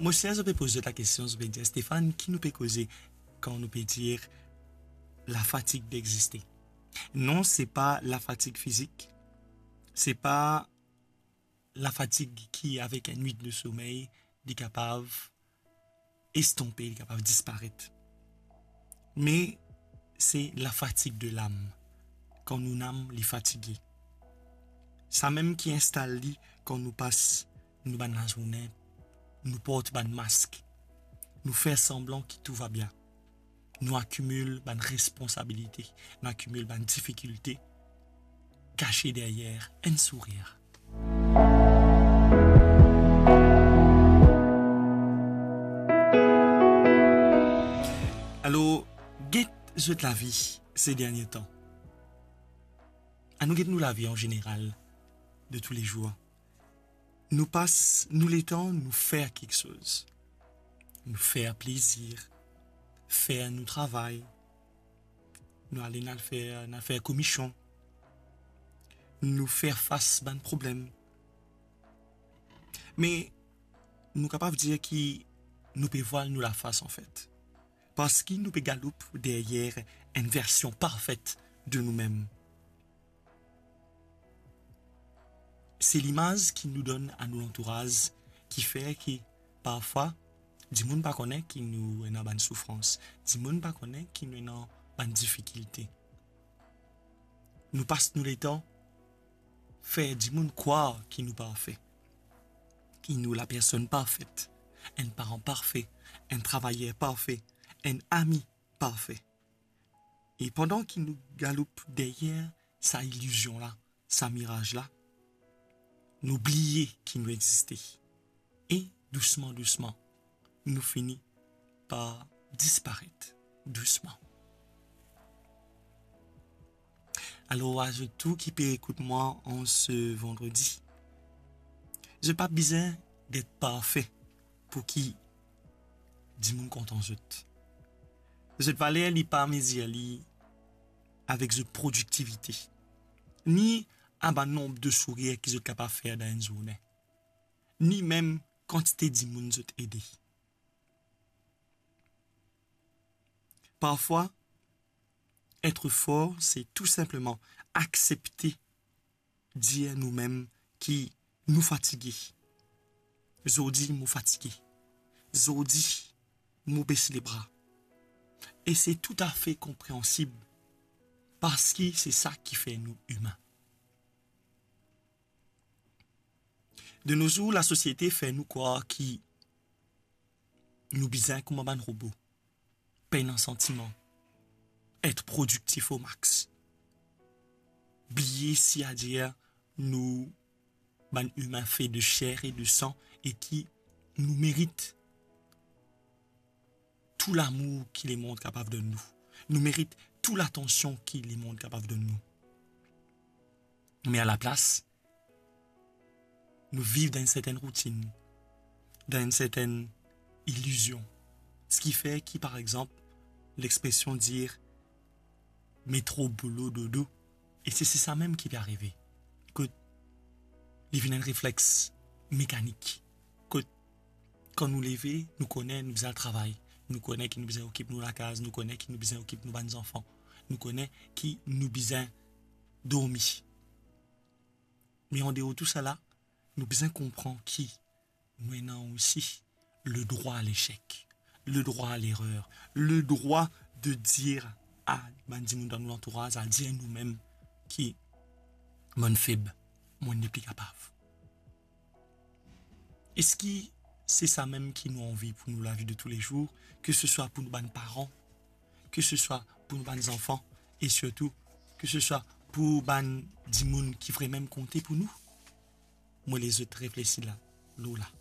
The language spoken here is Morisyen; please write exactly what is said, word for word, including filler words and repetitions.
Mo sir zot pe poz zot lakestion, zot pe dir, "Stéphane, ki nou pe koze kan nou pe dir lafatig d'existe?" Non, se pa lafatig fizik, se pa lafatig ki, avek enn nwit de somey, li kapav estonpe, li kapav disparet. Me se lafatig de lam, kan nou nam li fatige. Samem ki instal li kan nou pas nou bann lazourne, nou port bann mask, nou fer sanblan ki tou va bien, nou akimil bann responsabilite, nou akimil bann difikilte, kase deryer enn sourir. Alor, get zot lavi se dernie tan. Anou get nou lavi an zeneral, de toulezour. Nou pas nou letan, nou fer kiksoz. Nou fer plezir, fer nou travay, nou ale, nou al fer, nou al fer komision, nou fer fas bann problem. Me nou kapav dir ki nou pe vwal nou lafas, anfet, parski nou pe galoup deryer enn version parfet de noumem. Se limaz ki nou donn a nou lantouraz ki fer ki parfwa dimoun pa kone ki nou ena bann soufrans, dimoun pa kone ki nou ena bann difikilte. Nou pas nou letan fer dimoun krwar ki nou parfe, ki nou lapersonn parfet, enn paran parfe, enn travayer parfe, enn ami parfe. E pandan ki nou galoup deryer sa ilizion la, sa miraz la, nou bliye ki nou existe. E dousman, dousman, nou fini par disparet dousman. Alor, a zot tou ki pe ekout mwa an se vandredi, zot pa bizin get parfe pou ki dimoun kontan zot. Zot valer, li pa mezir li avek zot prodiktivite, ni a bann nonb de sourir ki zot kapav fer dan enn zourne, ni mem kantite dimoun zot ede. Parfwa, etre for, se tou sinpleman aksepte dir noumem ki nou fatige. Zordi, mo fatige. Zordi, mo bes lebra. E se toutafe konpreansib, parski se sa ki fer nou imin. De nos zour, lasosiete fer nou krwar ki nou bizin kouma bann robo, pena santiman, et prodiktif o max. Bliye si adir nou bann imin fe de ser e de san e ki nou merit tou lamour ki lemond kapav donn nou. Nou merit tou latansion ki lemond kapav donn nou. Me alaplas, nou viv dan enn sertenn routinn, dan enn sertenn ilizion. Seki fer ki, par exanp, lexpresion dir, "Me tro boulo dodo." E se, se sa mem ki pe arive. Kot li vinn enn reflex mekanik. Kot kan nou leve, nou kone nou bizin al travay. Nou kone ki nou bizin okip nou lakaz, nou kone ki nou bizin okip nou bann zanfan. Nou kone ki nou bizin dormi. Me andeor tou sala, nou bizin konpran ki nou ena osi le drwa a lesek, le drwa a lerer, le drwa de dir a bann dimoun dan nou lantouraz, a dir noumem ki, "Mo'nn feb, mo'nn nepli kapav." Eski se sa mem ki nou anvi pou nou lavi de toulezour, ke se swa pou nou bann paran, ke se swa pou nou bann zanfan, e sirtou ke se swa pou bann dimoun ki vremem konte pou nou? Mo les zot reflesi la, lor la.